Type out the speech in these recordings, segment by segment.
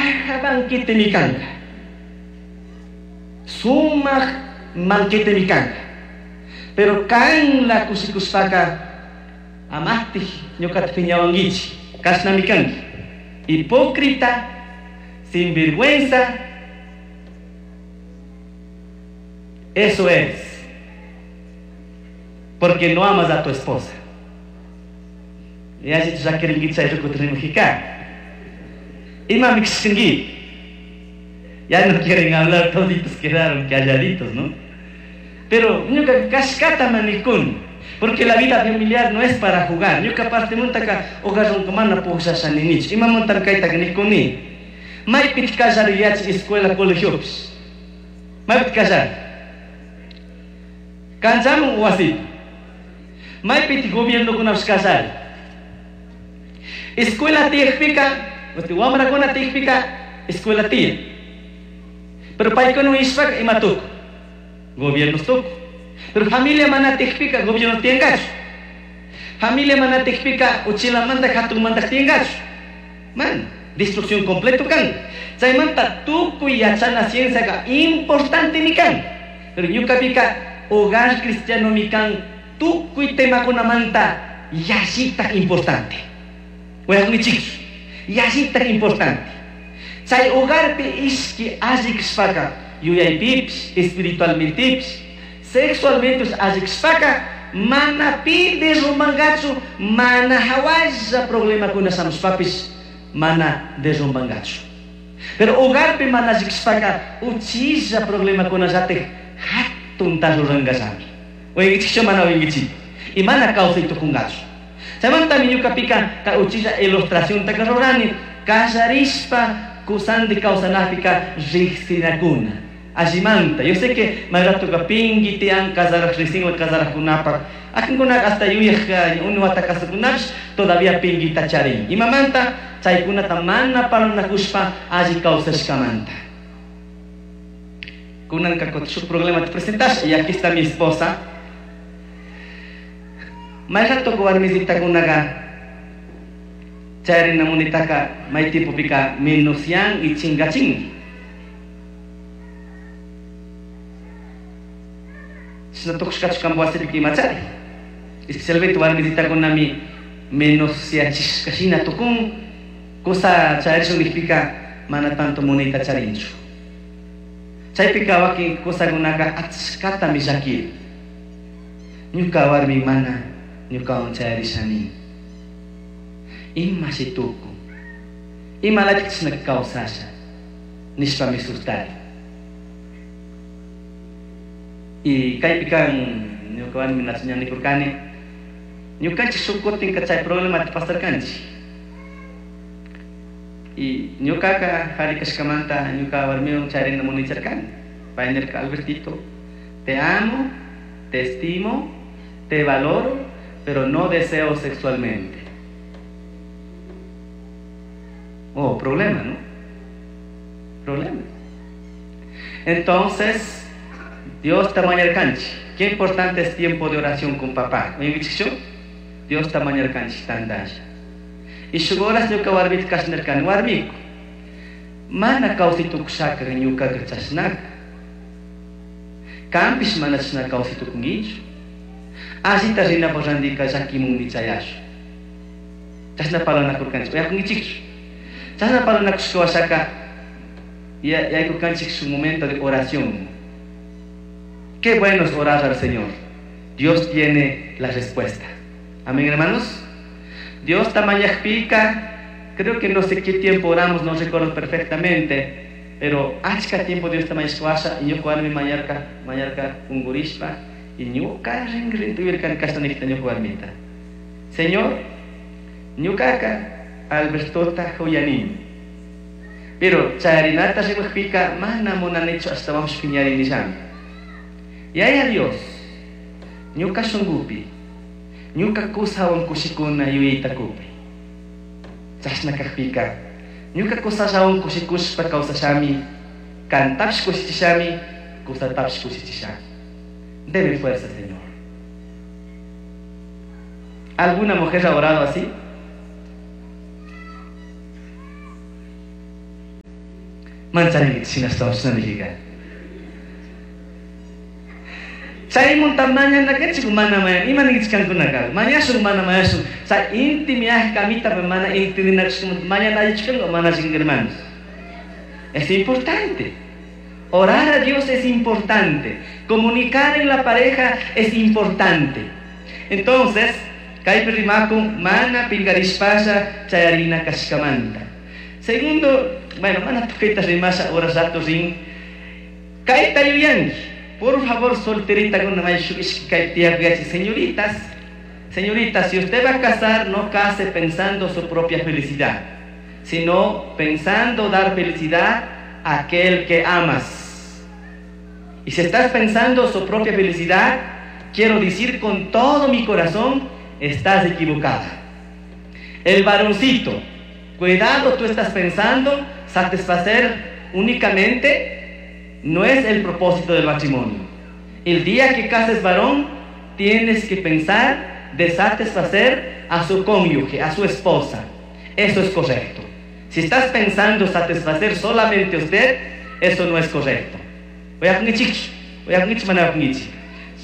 Caja banquetemi kanka. Sumaj banquetemi kanka. Pero kanla kushikushpaka amastij ñuqata piñawankichik, kashnami kanki. Hipócrita, sinvergüenza, eso eres. Porque no amas a tu esposa. Yallichu llakirinkichik chay rukuta rimajika. Imami kashkanki. Ya no quieren hablar, toditos quedaron calladitos, ¿no? Pero ñuka kashkata manikuni. Porque la vida familiar no es para jugar. Ñuka partimantaka hogarwanka mana pukllasha ninichu. Imamantami kaytaka nikuni. Maypitaq kallari yachay escuela colegiopish. Maypitaq kallari. Kanchaman o wasipi. Maypitaq gobiernokunapish kallari. Escuela tiyakpika, wamrakuna tiyakpika escuela tiyan. Pero paykuna ishpaka ima tukun. Gobiernos tukun. Pero familia mana tiyakpika gobierno tiyankachu. Familia mana tiyakpika uchilamanta hatunmanta tiyankachu. Man, destrucción completo kan. Chaymanta tukuy yachana cienciaka importantemi kan. Pero ñukapika hogar cristianomi kan tukuy temakunamanta yallitaj importante. Uyakunkichikchu, yallitaj importante. Chay hogarpi ishki alli kashpaka yuyaypipish, espiritualmentepish, sexualmentepish alli kashpaka mana pi derrumbangachu, mana hawalla problemakuna shamushpapish mana derrumbangachu. Pero hogarpi mana alli kashpaka uchilla problemakunallatik hatunta rurangallami. Uyankichikchu mana uyankichik. Y mana kawsay tukungachu. Chaymantami ñukapika kay uchilla ilustraciontaka rurani kallarishpa kusandi kawsanapika riqsinakuna. Allimanta. Yo sé que may ratoka pingui tiyan casaraj riqsinwan casarajkunapaq. Akinkunaka hasta yuyaj unu wata kasukunapish todavía pinguita charin. Imamanta chaykunata mana parlanakushpa alli kawsashkamanta. Kunanka shuk problema te presentas y aquí está mi esposa. May rato warmisitakunaqa chayrina munitaka may tipopika menosyan y chingachin. Chashna tukushkachu kanpa wasipika imachari. Especialmente warmisitakunami menosyachishka shina tukun kusa charishun nijpika mana tanto munayta charinchu. Chaypika wakin kusakunaka achkatami llakiri. Ñuka warmi mana ñukawan chayarishani. Imashi tukun. Imalatik chashna kawsasha nishpami sustari. Y kaypika ñuka warmi ña nikurkani ñukanchik shuk kutinka chay problemata pasarkanchik. Y ñukaka jari kashkamanta ñuka warmiwan chayrina munaycharkani. Pay nirka, Albertito, te amo, te estimo, te valoro, pero no deseo sexualmente. Oh, problema, ¿no? Problema. Entonces, Dios tamañarkanchik. Qué importante es tiempo de oración con papá. Oye, Dios tamañarkanchik tandalla. Y shuk horas ñuka warmita kashnarkani warmiku. Mana kawsay tukushaka ñukaka chashnaka. Kanpish mana chashna kawsay tukunkichu. Allita rinapaq randika llakimunmi chayashun. Chashna parlanakurkanchik. Uyakunkichikchu. Chashna parlanakushka washaka yaykurkanchik shuk momento de oración. Qué bueno es orar al Señor. Dios tiene la respuesta. Amén, hermanos. Dios tamañajpika, creo que no sé qué tiempo oramos, no recuerdo perfectamente, pero achka tiempo Dios tamañashka y ñuka warmi mañarka, mañarka ungurishpa, y ñuka ringrin tuvirkan kashtanikta ñuka warmita. Señor, ñukaka Albertota huyanini. Pero charinata rimajpika mana munanichu hasta vamos piñarinillami. Yaya Dios, ñuka shungupi, ñuka kusawan kushikuna yuyayta kupi. Chashna kajpika, ñuka kusallawan kushikushpa kawsashami, kantapish kushichishami, kusatapish kushichishami. Deme fuerza, Señor. ¿Alguna mujer ha orado así? Mancharinkichik shinashtawanpish shina. Chaymunta mañanakanchik mana mañan ima ninkichik kankunaka mañashun mana mañashun chay intimidad kamita mana entendinakushkamanta mañana allichu kanka o mana alli kanka hermanos. Es importante. Orar a Dios es importante. Comunicar en la pareja es importante. Entonces, kaypi rimakun mana pinkarishpalla chayarina kashkamanta. Segundo, bueno, mana tukuyta rimasha horas rato rin. Kayta yuyanki. Por favor, solteritakuna may shuk ishki kaypi tiyakuyachik. Señoritas, señoritas, si usted va a casar, no case pensando su propia felicidad, sino pensando dar felicidad a aquel que amas. Y si estás pensando su propia felicidad, quiero decir con todo mi corazón, estás equivocada. El varoncito, cuidado, tú estás pensando satisfacer únicamente, no es el propósito del matrimonio. El día que cases varón, tienes que pensar de satisfacer a su cónyuge, a su esposa. Eso es correcto. Si estás pensando satisfacer solamente a usted, eso no es correcto. Uyakunkichik mana uyakunkichik.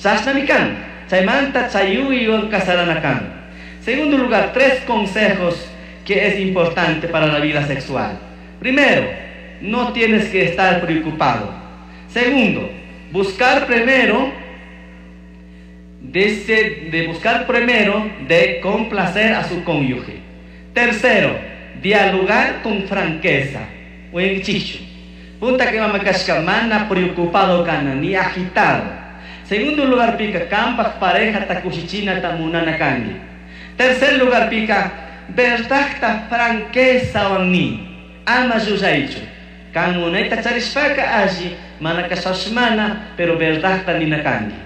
Chashnami kan. Chaymanta chayuywan casarana kan. Segundo lugar, tres consejos que es importante para la vida sexual. Primero, no tienes que estar preocupado. Segundo, buscar primero de complacer a su cónyuge. Tercero, dialogar con franqueza. Uyankichikchu. Punta que mama kashka mana preocupado kana ni agitado. Segundo lugar pica kampak pareja ta kushichina ta munana kanki. Tercer lugar pica verdadta franqueza ni ama llullaychu. Kan munayta charishpaka alli mana kashash mana pero verdadta nina kanki.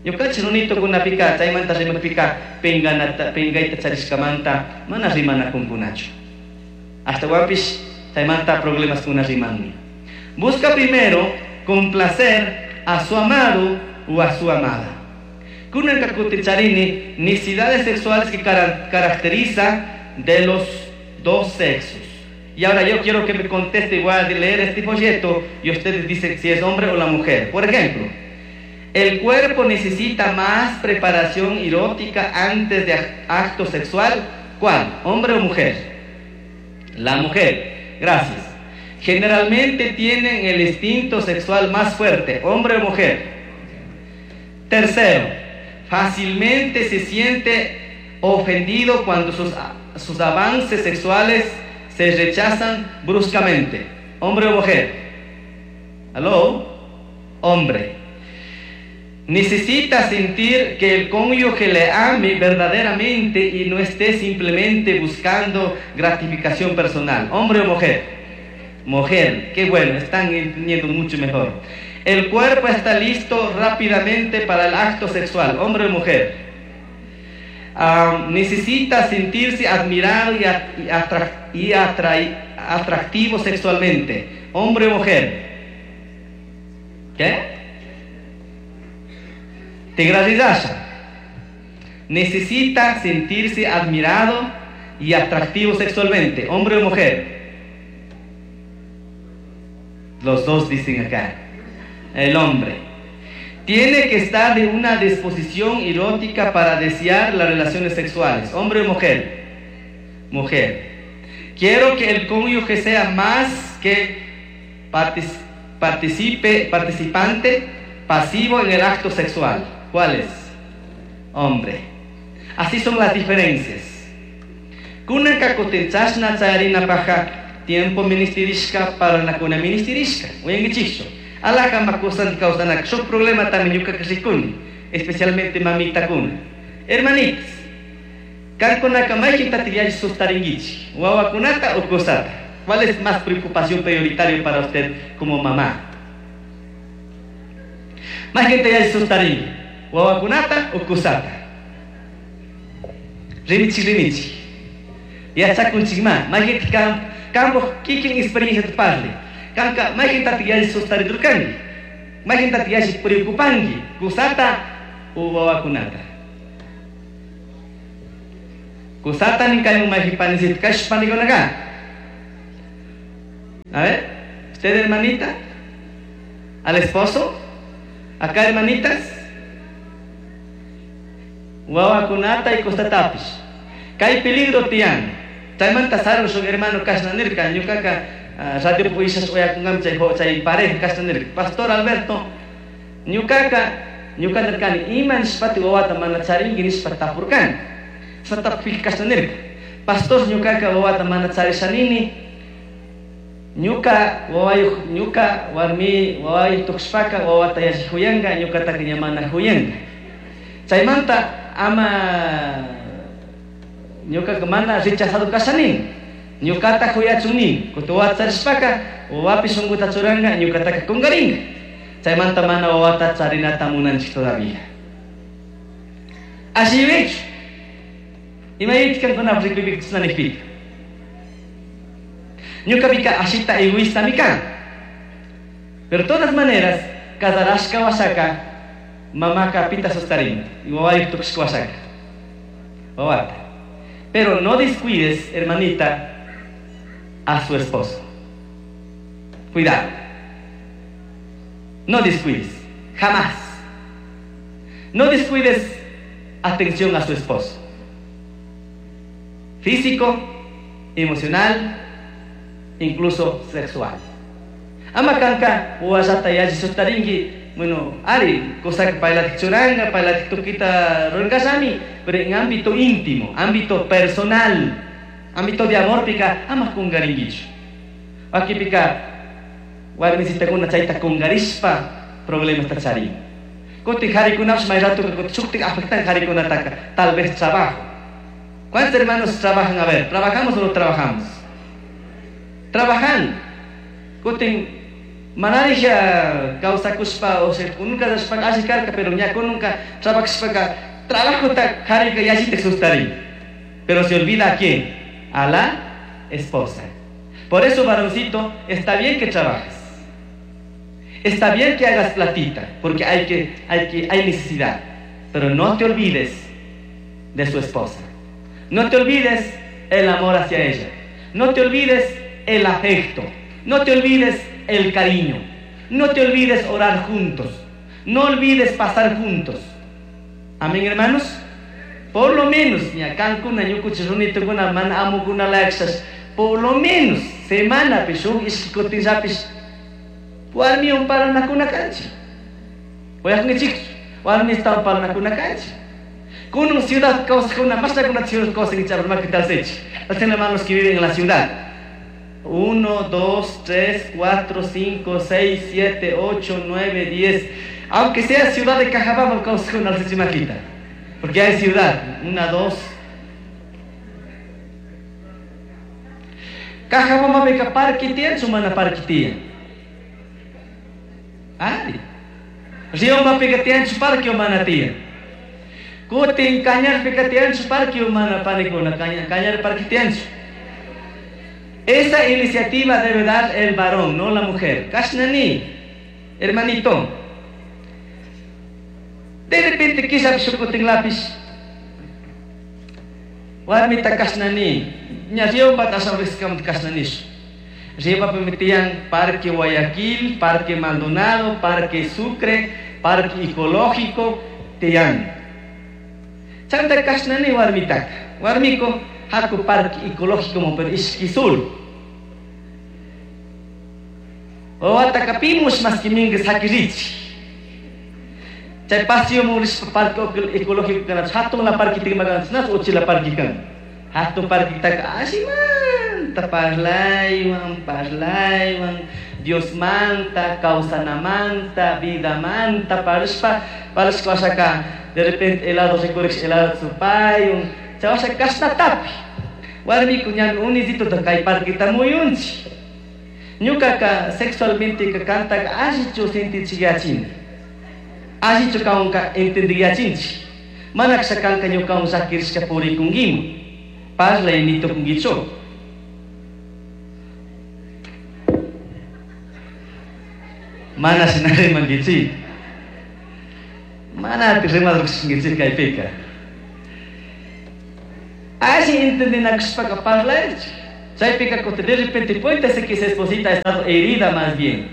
Ñukanchik runitukunapika chaymanta rimakpika pingayta charishkamanta mana rimanakunkunachu. Ashtawanpish chaymanta problemaskuna rimanmi. Busca primero complacer a su amado o a su amada. Kunanka kutin charini necesidades sexuales que caracteriza de los dos sexos. Y ahora yo quiero que me conteste, voy a leer este folleto y ustedes dicen si es hombre o la mujer. Por ejemplo, el cuerpo necesita más preparación erótica antes de acto sexual. ¿Cuál? ¿Hombre o mujer? La mujer. Gracias. Generalmente tienen el instinto sexual más fuerte, hombre o mujer. Tercero, fácilmente se siente ofendido cuando sus avances sexuales se rechazan bruscamente. ¿Hombre o mujer? ¿Aló? Hombre. Necesita sentir que el cónyuge le ame verdaderamente y no esté simplemente buscando gratificación personal. ¿Hombre o mujer? Mujer. Qué bueno, están entendiendo mucho mejor. El cuerpo está listo rápidamente para el acto sexual. ¿Hombre o mujer? Necesita sentirse admirado y atractivo sexualmente. ¿Hombre o mujer? ¿Qué? Tigraridasha. Necesita sentirse admirado y atractivo sexualmente. ¿Hombre o mujer? Los dos dicen acá. El hombre. Tiene que estar en una disposición erótica para desear las relaciones sexuales. ¿Hombre o mujer? Mujer. Quiero que el cónyuge sea más que participante pasivo en el acto sexual. ¿Cuál es? Hombre. Así son las diferencias. Kunanka kutin chashna chayarina paja tiempo ministerishka parlanakuna ministerishka. Uyankichikchu. Alaka makusan kawsanak shuk problema también ñuka rikuni, especialmente mamitakuna. Hermanitas, kankunaka mayqintataq yalli sustarinkichik, wawakunata o kusata. ¿Cuál es más preocupación prioritaria para usted como mamá? Mayqinta yalli sustarinki, wawakunata o kusata. Rimichik rimichik. Yachakunchikma, mayqinta kampuq kikin experiencia parli. Kanka mayqintataq yalli sustaridurkanki, mayqintataq yalli preocupanki, kusata o wawakunata. Kusata nin kayman mayqin panisita kashpa panikunaka. A ver. ¿Usted, hermanita? ¿Al esposo? ¿Acá, hermanitas? Wawakunata y kustatapish. Kay peligro tiyan. Chaymanta sarun shuk hermano kashna nirka, ñukaka radio puishas uyakunkami chay chay pareja kashna nirka. Pastor Alberto, ñukaka ñuka nirkani ima nishpati wawata mana charinki nishpa tapurkani. Chashna tapukpika kashna nirka. Pastor ñukaka wawata mana charishanini, ñuka wawayuq ñuka warmi wawayuq tukushpaka wawata yalli huyanka, ñukataka ña mana huyanka. Chaymanta ama ñukaka mana rechazado kashanini, ñukata huyachun nini. Kutin wawata charishpaka wawapi shunkuta churanka, ñukataka kunkarinka. Chaymanta mana wawata charinata munanchik todavía. Alli yuyaychu. Ima yuyaychu kankunapak rikuypika chashna nijpika. Ñukapika ashita egoístami kan. Pero todas maneras, casarashka washaka mamaka pita sustarin, wawayuq tukushka washaka. Wawata. Pero no descuides, hermanita, a su esposo. Cuidado. No descuides. Jamás. No descuides atención a su esposo. Físico, emocional, incluso sexual. Ama kanka wawallata yalli sustarinki, bueno, ari, kusaka paylatik churanga, paylatik tukita rurankashami, pero en ámbito íntimo, ámbito personal, ámbito de amor pika, ama kungarinkichu. Wakipika warmisitakuna chayta kungarishpa problemasta charin. Kutin harikunapish may ratuka kutin shuktik afectan harikunataka, tal vez trabajo. ¿Cuántos hermanos trabajan? A ver, ¿trabajamos o no trabajamos? Trabajan. Kutin manarija kawsakushpa, o sea, nunca rashpaka alli karka, pero ña nunca trabajashpaka, trabajota harika yallitak sustarin. Pero se olvida a quién? A la esposa. Por eso, varoncito, está bien que trabajes. Está bien que hagas platita, porque hay necesidad. Pero no te olvides de su esposa. No te olvides el amor hacia ella. No te olvides el afecto. No te olvides el cariño. No te olvides orar juntos. No olvides pasar juntos. Amén, hermanos. Por lo menos, ña kankuna ñukuchis runitukuna mana amukuna laksas, por lo menos semanapi shuk ishki kutinllapish warmiwan parlanakuna kanchik. Uyakunkichikchu? Warmistawan parlanakuna kanchik. Kunun ciudad kawsakuna, mashnakuna ciudad kawsankichik armakitalsichik. Los hermanos que viven en la ciudad. 1, 2, 3, 4, 5, 6, 7, 8, 9, 10. Aunque sea ciudad de Cajabamba, kawsakuna alsichimakita. Porque hay ciudad. 1, 2. Cajabamba pika parque tiyan, mana parque tiyan. Ari. Riomba pika tiyanchu parque o mana tiyan. Kutin Cañar pika tiyanchu parque o mana panikuna, Cañar parque tiyanchu. Esa iniciativa debe dar el varón, no la mujer. Kashnani, hermanito. De repente quizá shukutin lápiz. Warmita kashnani. Ña Riomba tasam riskam kashnanish. Riomba permitían Parque Guayaquil, Parque Maldonado, Parque Sucre, Parque Ecológico, tiyan. Chanta kashnani warmitaka. Warmiko haku Parque Ecológico mo pero ishkisul. Wawataka pimush mas kimingas hakirichi. Chay paseo mo rispa Parque Ecológico kana hatun la parque tigmagan nas uchila parque kan. Hatun parque taka ashimanta parlaywan parlaywan Dios manta, kawsanamanta, vida manta, parishpa parishpa wasaka de repente helado recorrish helado supayun chawasha kashna tapi. Warmiku ñami unisito ta kay parquita muyunchi. Ñukaka sexualmente ka kantaka allichu sintichiyachini. Allichu kawanka entendiyachinchi. Mana kasha kanka ñukawan llakirishka purikunkiman. Parlay nitukunkichu. Mana shina rimankichik. Mana ati rimadurkushinkichik kaypika. Alli entendinakushpaka parlaychik. Chaypika de repente puede ser que esa esposita ha estado herida más bien.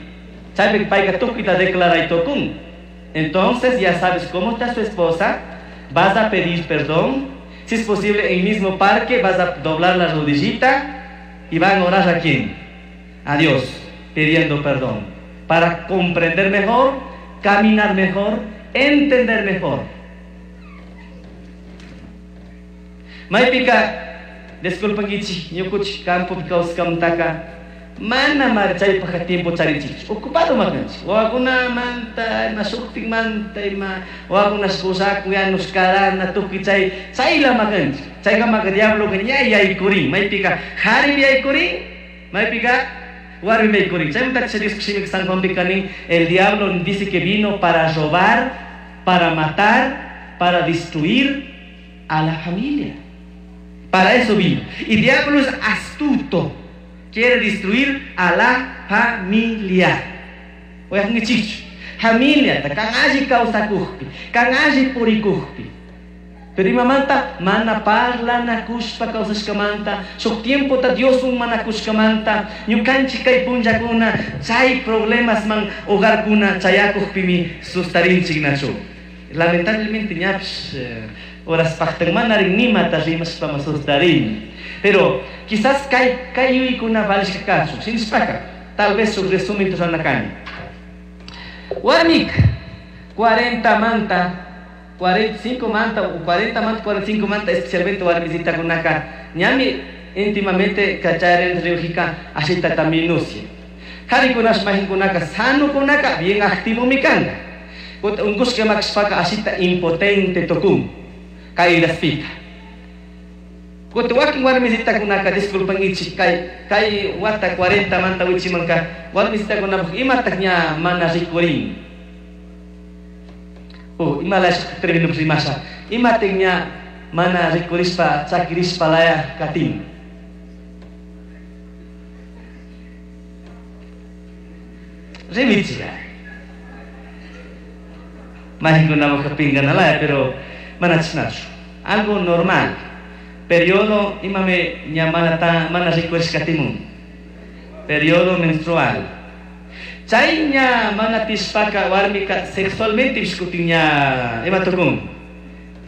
Chaypika payka tukuyta declaray tukun. Entonces ya sabes cómo está su esposa, vas a pedir perdón. Si es posible, en el mismo parque vas a doblar la rodillita y van a orar a quién? A Dios, pidiendo perdón. Para comprender mejor, caminar mejor, entender mejor. Maypika, disculpankichik, ñukuchik campopi kawsaskamantaka mana mari chaypajka tiempo charinchikchu, ocupado makanchik, wawakunamanta, ima shuktikmanta, ima wawakunash pusakun, yanush karana, tukuy chay, chayla makanchik. Chaykamaka diabloka ña yaykurin, maypika jarimi yaykurin, maypika warmi yaykurin. Chaymanta Dios shimika San Juanpika nin, el diablo dice que vino para robar, para matar, para destruir a la familia. Para eso vino. Y diablo es astuto. Quiere destruir a la familia. Oigan, chicho. Familia, kan alli kawsakujpi, kan alli purikujpi. Pero imamanta mana parlanakushpa kawsashkamanta, shuk tiempota Dioswan manakushkamanta, ñukanchik kay punllakuna chay problemasman hogarkuna chayakujpimi sustarinchik nachu. Lamentablemente ñapish horas paqtanmanarin nimata rimashpa sustarin. Pero quizás kay kay yuyaykuna valishka kachun, shinashpaka, tal vez shuk resumen ruranakani. Warmika 40 manta, 45 manta, o 40 manta, 45 manta, especialmente warmisitakunaka, ñami íntimamente kacharen riujika ashitata minucia. Jarikunash mahinkunaka sanukunaka bien activo mi kanga. Unkushka makashpaka ashita impotente tukun, kayraspika. Kuti wakin warmisitakunaka, disculpankichik, kay kay wata 40 manta wichimanka, warmisitakunapaj imataj ña mana rikurin. Oh, imalash término rimasha. Imataj ña mana rikurishpa, chakirishpa laya katin. Rimichiga. Mahinkunamaj pinganalaya, pero mana chashnachu. Algo normal. Periodo imame ña mana ta, mana rikurishkatimun. Periodo menstrual. Chay ña mana tishpaka warmika sexualmente ishkutin ña ima tukun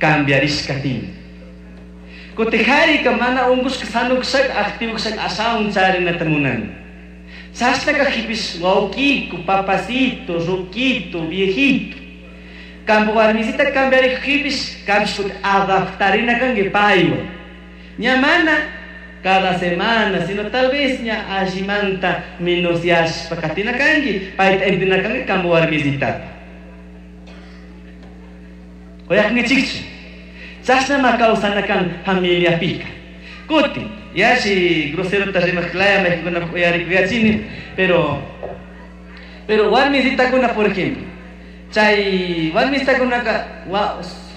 cambiarishkatin. Kuti harika mana unkushka sanukushaka activokushaka ashawan charinata munan. Chashnaka jipish wawkiku, papacito, ruquito, viejito. Campo warmisita cambiarij jipish, cambish kuti adaptarina kanki paywan. Ña mana cada semana, sino tal vez ña allimanta minuciashpa katina kanki, payta entina kanki campo warmisitata. Uyaqnichikchu. Chashnama kawsana kan familiapika. Kuti, yashi groserota rimaqlaya maykunapaq uyarikuyachini, pero warmisitakuna, por ejemplo, chay warmisitakunaka,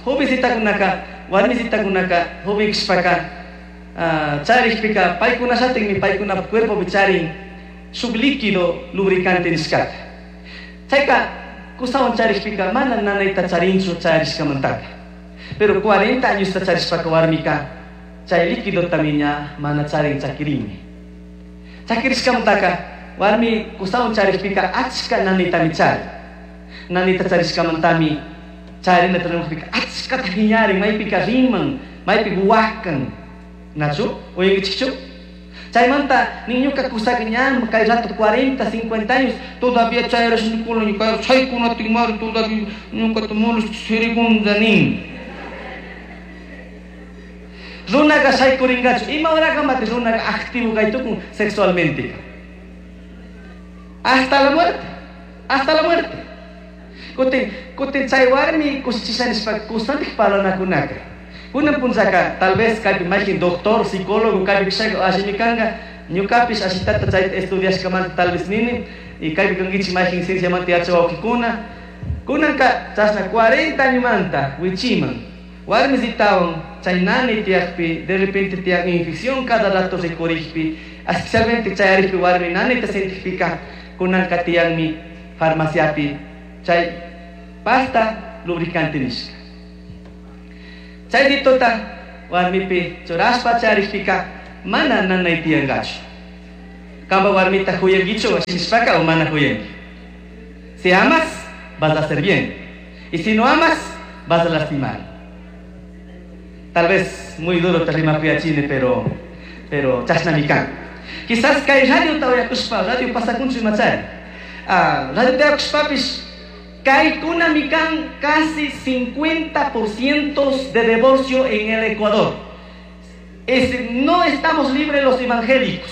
jovencitakunaka, warmisitakunaka, joven kashpaka, charikpika, paykunashatinmi paykunapaq cuerpopi charin shuk líquido lubricante nishkata. Chayka kusawan charikpika mana nanayta charinchu charishkamantaka. Pero 40 añosta charishpaka warmika chay líquidotami ña mana charin chakirinmi. Chakirishkamantaka warmi kusawan charikpika achka nanaytami charin. Nanayta charishkamantami charinata rimaqpika achkata phiñarin, maypika riman, maypika wakan. Nachu, uyankichikchu? Chaymanta niñuka kusaka ña kay rato 40, 50 años todavía chayrashnikuna ñuka chaykunatinmari todavía ñukata molesta sirikunda nin. Runaka shaykurinkachu, ima horakamati runaka activo kaytukun sexualmente. Hasta la muerte, hasta la muerte. Kutin kutin chay warmi kushichisha nishpa kusantik parlanakunaka. Kunan punllaka tal vez kaypi maykin doctor, psicólogo kaypi kashaka allimi kanka, ñukapish ashitata chayta estudiashkamanta tal vez nini, y kaypi kankichik maykin cienciamanta yachawawkikuna. Kunanka chashna 40 añomanta wichiman, warmisitawan chay nani tiyakpi, de repente tiyak infección cada rato rikurikpi, especialmente chayarikpi warmi nanita sentikpika, kunanka tiyanmi farmaciapi chay pasta lubricante nishka. Chay ditota warmipi churashpa charikpika mana nanay tiyangachu. Kamba warmita huyankichu nishpaka o mana huyanki. Si amas, vas a hacer bien. Y si no amas, vas a lastimar. Tal vez muy duro te rima chine, pero chashnami kan. Quizás kay radio tawayakushpa, radio pasakunchu imachari. Radio tawayakushpapish, kaykunami kan casi 50% de divorcio en el Ecuador. No estamos libres los evangélicos,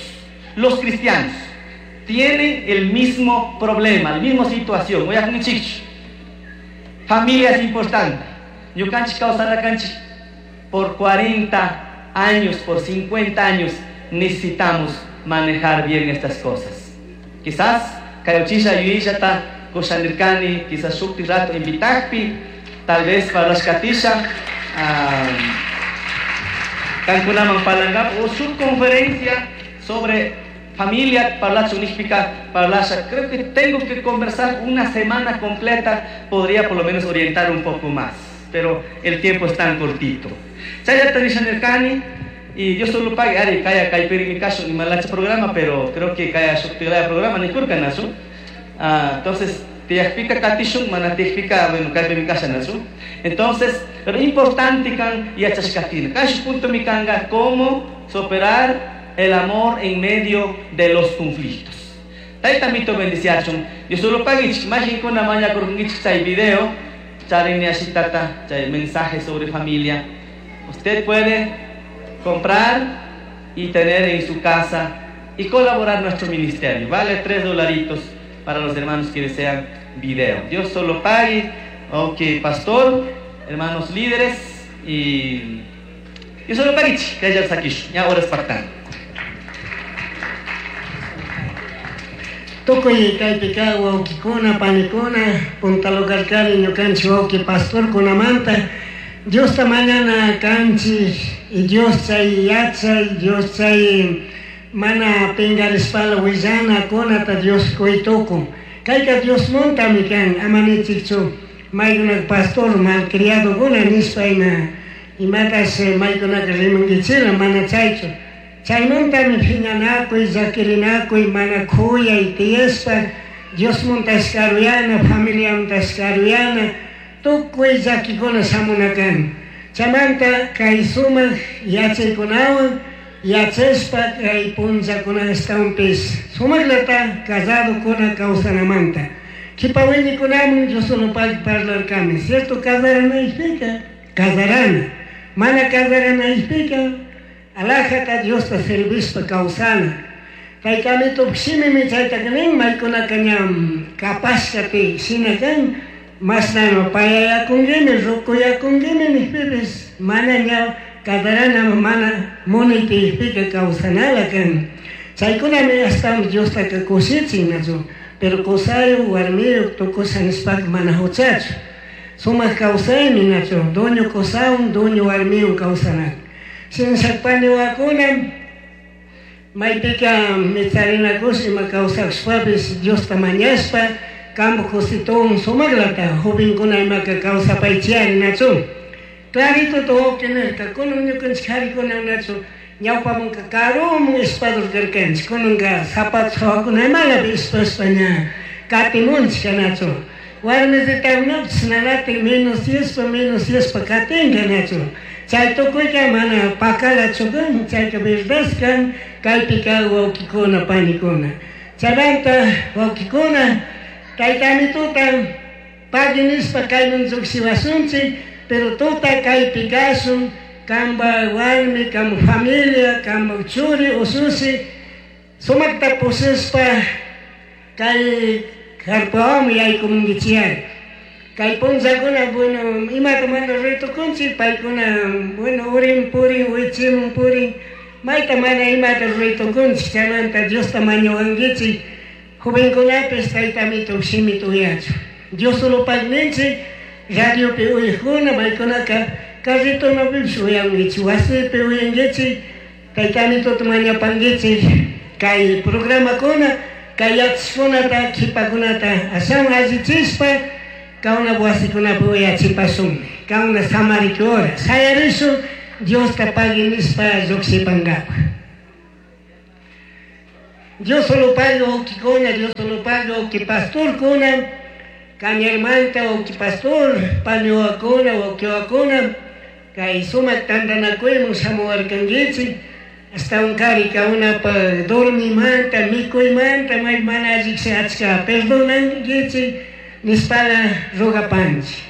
los cristianos. Tienen el mismo problema, la misma situación. Voy a Familia es importante. Ñukanchik kawsarkanchik por 40 años, por 50 años, necesitamos manejar bien estas cosas. Quizás kayochisha yuyillata kushanirkani, quizás shukti rato invitakpi, tal vez parlashkatisha, kankunaman parlangap o su conferencia sobre familia parlachu nishpika parlasha. Creo que tengo que conversar una semana completa, podría por lo menos orientar un poco más, pero el tiempo es tan cortito. Chayata nishanirkani, y yo solo pague, ari, kaya kaypiri mi caso, ni malacha programa, pero creo que kaya shuktilaya programa, ni kurka nasu. Entonces, tiyakpika katishun, mana tiyakpika, bueno, kaypi mi casa nasu. Entonces, pero importante kan yachashkatina. Kash punto mi kanga, cómo superar el amor en medio de los conflictos. Tayta mito bendiciachun. Yo solo paguich, imagín con la maña kurkungichik chay video, charini ashitata, chay mensaje sobre familia. Usted puede comprar y tener en su casa y colaborar nuestro ministerio. Vale tres dolaritos para los hermanos que desean video. Dios solo pague. Ok, pastor, hermanos líderes y yo solo pague, que haya saquish. Ya ahora es pactando. Tukuy kaypika wawkikuna, panikuna, punta lugarkari ñukanchik wawki pastorkunamanta, Diosta mañana kanchik, y Dios chay yachay, Dios chay mana pingarishpala willana kunata Dios kuytukun. Kayka Dios muntami kan, ama nichikchu maykunaka pastor malcriadokuna nishpa ima imatash maykunaka rimankichila mana chaychu. Chaymantami phiñanakuy, llakirinakuy, mana khuyay tiyashpa, Dios muntash karuyana, familia muntash karuyana, tukuy llakikuna shamuna kan. Chaymanta kay sumak yachaykunawan yachashpa kay punllakuna ashtawanpish sumaklata casadokuna kawsanamanta. Kipa wiñikunaman Dios solo parlarkani, cierto casaranaypika, casarana, mana casaranaypika, alajata Diosta servishpa kawsana. Tayta shimimi chaytaka nin, maykunaka ña kapashkapi shina kan, mashnano payayakunkimi, rukuyakunkimi nijpipish mana ña casarana mana munaytiypika kawsanala kan. Chaykunami ashtawan Diostaka kushichin nachu, pero kusayuk, warmiyuk tukusha nishpaka mana huchachu. Sumak kawsaymi nachu, dueño kusawan, dueño warmiywan kawsanaka. Shinashakpani wawakuna, maypika micharinakush ima kawsakushpapish Diosta mañashpa, kampak kusituwan sumaklata jovenkuna imaka kawsapaychiyari nachu. Clarito wawqi nirka, kunan ñukanchik harikuna nachu, ñawpamanka karuman espador karkanchik, kunanka zapatos hawakuna imalapi espashpa ña katimunchik nachu. Warmisitakunapish nanatik menos yashpa katinka nachu. Chay tukuyka mana pakalachu kan, chayka verdad kan, kaypika wawqikuna panikuna. Chaymanta wawqikuna, tayta amituta pagui nishpa kayman llukshiwasunchik, pero tuta kaypi kashun, kamba warmi, kamba familia, kamba churi, usushi, sumakta pushashpa kay karpawanmi yaykumunkichiyari. Kay punllakuna, bueno, imata mana ritukunchik, paykuna, bueno, urin purin, wichimun purin, mayta mana imata ritukunchik, chaymanta Diosta mañawankichik, jovenkunapish tayta amito shimita uyachu. Dios solo pagninchik, radiopi uyajkuna, paykunaka carritonapipish uyankichik, wasipi uyankichik, tayta amitota mañapankichik, kay programakuna, kay yachashkunata, kipakunata ashawan allichishpa, kauna wasikunapi uyachipashun, kauna samarikura, shayarishun, Diosta pagui nishpa llukshipankapa. Dios solo pague wawkikuna, Dios solo pague wawki pastorkuna, Cañarmanta wawki pastor, paniwakuna, wawkiwakuna, kay sumak tantanakuyman shamuwarkankichik, astawan kari kaunapaq dormimanta, mikuymanta, may mana allishi achka perdonankichik nispala rogapanchik.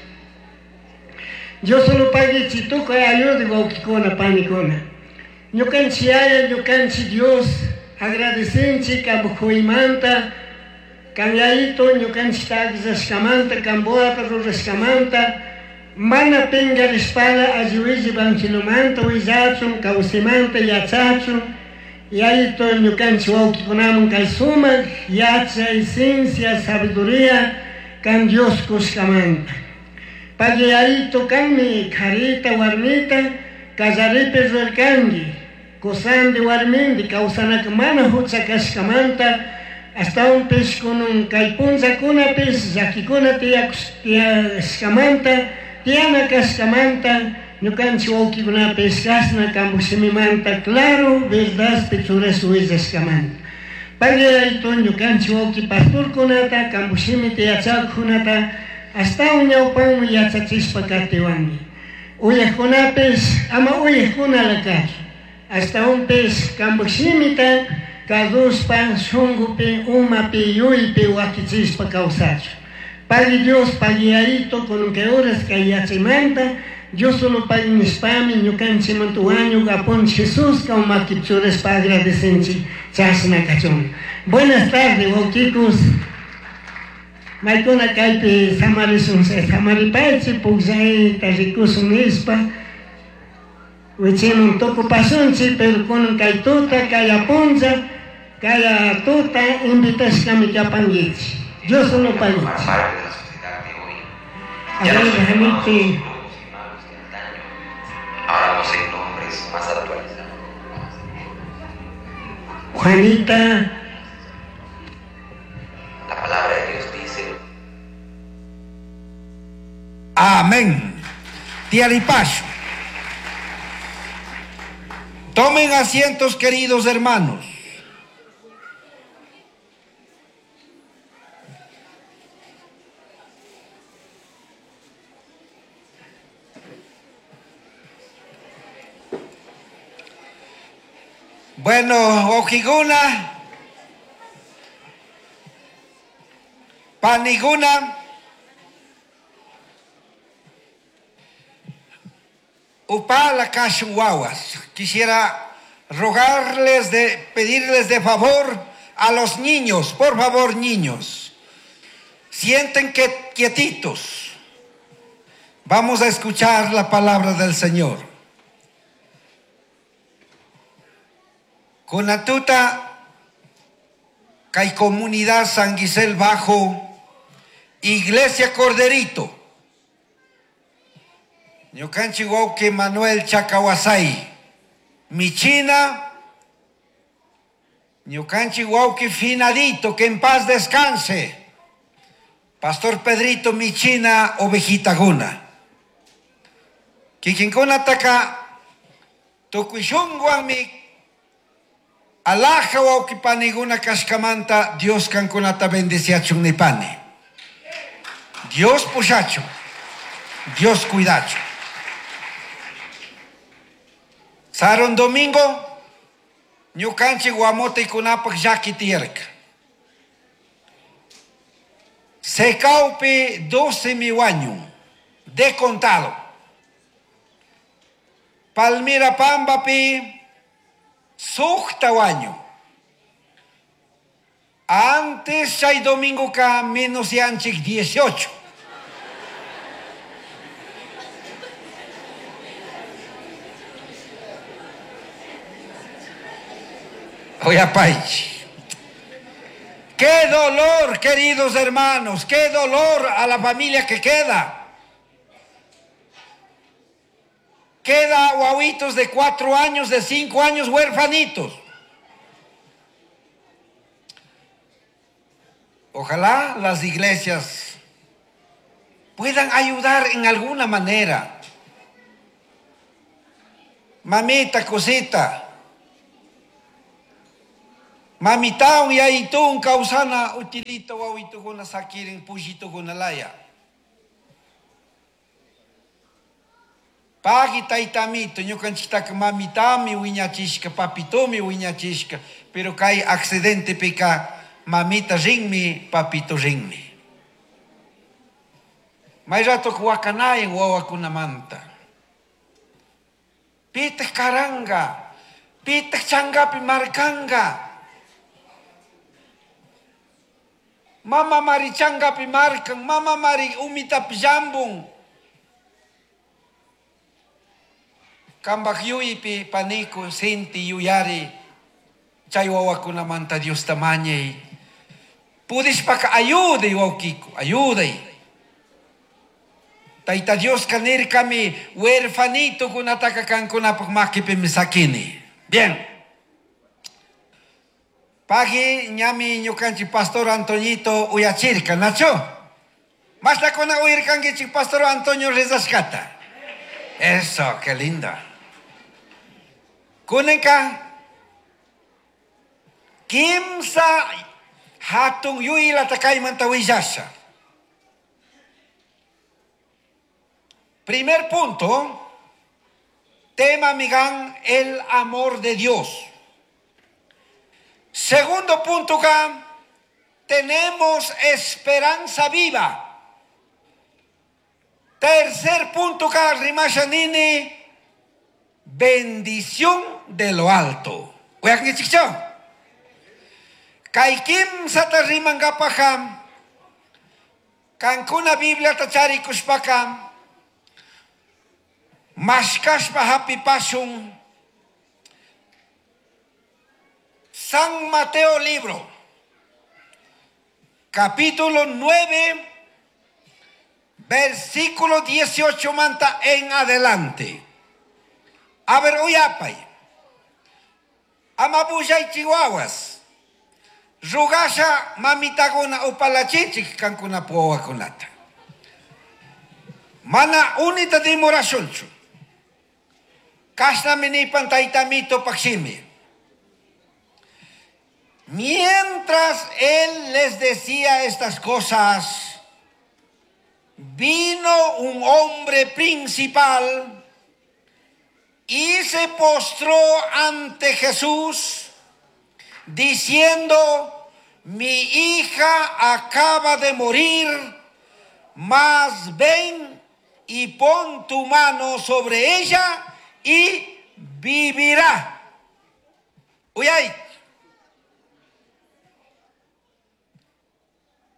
Dios solo paguichik tukuy ayuda wawkikuna, panikuna. Ñukanchik Yaya, ñukanchik Dios, agradecenchik kampuymanta, kan Yayito ñukanchikta akllaskamanta, kampuata rurashkamanta, mana pinkarishpala alli willi evangelomanta willachun, kawsaymanta yachachun, Yayito ñukanchik wawkikunaman kay sumak yachay, ciencia, sabiduría kan Dios kushkamanta. Pagui Yayito kanmi karita warmita kallaripi rurarkanki, kusandi warmindi kawsanaka mana hucha kashkamanta, ashtawanpish kunun kay punllakunapish llakikuna tiyashkamanta, tiyana kashkamanta, ñukanchik wawkikunapish kashna kampak shimimanta claro verdadpi churash willashkamanta. Pagui Yayito ñukanchik wawki pastorkunata, kampak shimita yachakkunata, ashtawan ñawpanman yachachishpa katiwanki. Uyajkunapish ama uyajkunala kachun, ashtawanpish kampak shimita kazushpa shunkupi, umapi, yuypi wakichishpa kawsachun. Pagui Dios, pagui Yayito, kunun kay horas kay yachaymanta, Dios solo pagui nishpami ñukanchikmanta wañuk Apunchik Jesús kaw makipi churashpa agradecenchik chashna kachun. Buenas tardes, wawkikus. Maykuna kaypi samarishun, samaripaychik, pukllayta rikushun nishpa, wichimun tukupashunchik, pero kunan kay tuta, kay apuncha, kay tuta invitashkami kapankichik. Dios solo paguichik. Parte de la sociedad de hoy. A Ya no ver, son llamados déjame los brujos y magos de antaño. Ahora poseen nombres más actualizados. Juanita. La palabra de Dios dice: Amén. Tiaripacho. Tomen asientos, queridos hermanos. Bueno, Ojiguna, Paniguna, Upala Cachuahuas. Quisiera rogarles, de, pedirles de favor a los niños, por favor, niños, sienten que quietitos. Vamos a escuchar la palabra del Señor. Kunatuta, kay comunidad San Gisel Bajo, Iglesia Corderito, Ñukanchik wawqi Manuel Chacahuasay, Michina, Ñukanchik wawqi Finadito, que en paz descanse, Pastor Pedrito Michina, Ovejita Guna. Kikinkuna taka, tukuy shunguwanmi alaja wawqi paniguna kashkamanta, Dios kankunata bendeciachun nipani. Dios pushachun, Dios cuidachun. Saron domingo, ñukanchik guamotikunapak llaki tiyarka. Secaupi 12 miwañu, de contado. Palmira Pambapi, sukta wañu. Antes chay domingo ka menos yanchik 18. Oye, Paichi. Qué dolor, queridos hermanos, qué dolor a la familia que queda. Queda guaguitos de 4 años, de 5 años, huerfanitos. Ojalá las iglesias puedan ayudar en alguna manera. Mamita, cosita. Mamitawan yayituwan kawsana utilita wawitukuna sakirin pullitukuna laya. Pagui taytamito, ñukanchiktaka mamitami wiñachishka, papitomi wiñachishka, pero kay accidentepika mamita rinmi, papito rinmi. May rato wakanayan wawakunamanta. Pitaq karanga, pitaq changapi markanga. Mama mari changapi markan, mama mari umitapi llambun. Kambaj yuypi paniku sinti yuyari chay wawakunamanta Diosta mañay. Pudishpaka ayuday wawkiku, ayuday. Tayta Dioska nirkami huerfanitokunataka kankunapaq makipimi sakini. Bien. Pagui ñami ñukanchik pastor Antoñito uyachirka, nacho? Mashnakuna uyarkankichik pastor Antonio rezashkata. Eso, qué lindo. Kunanka kimsa hatun yuylata kaymanta willasha. Primer punto, tema migan el amor de Dios. Segundo punto, tenemos esperanza viva. Tercer punto, rimashanini, bendición de lo alto. Kay kimsata rimankapajam, kankuna Bibliata charikushpaka, mashkashpa hapipashun, San Mateo libro, capítulo 9, versículo 18 manta en adelante. A ver, uyapay. Amabuyay chihuahuas. Rugasha mamitaguna upalachichik kankuna puwakunata. Mana unita dimorashunchu. Kashnami nipan taytamito pakshimi. Mientras él les decía estas cosas, vino un hombre principal y se postró ante Jesús, diciendo: mi hija acaba de morir, mas ven y pon tu mano sobre ella y vivirá. Uyay.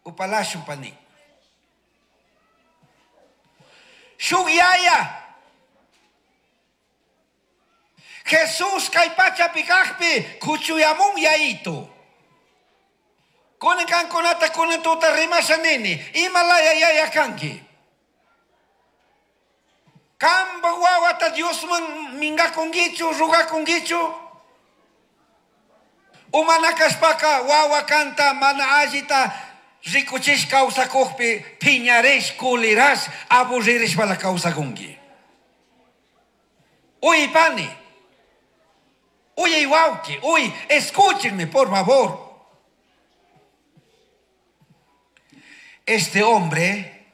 Upalashun pani. Shuk yaya. Jesús kay pachapi kajpi kuchuyamun yayito. Kunan kankunata kunan tuta rimasha nini. Imalaya yaya kanki. Kamba wawata Diosman mingakungichu, rugakungichu. Umana kashpaka wawa kanta mana allita rikuchish kawsakukpi piñarish, kulirash, aburririshpala kawsakunki. Uy, pani. Uy, wauki. Uy, escúchenme, por favor. Este hombre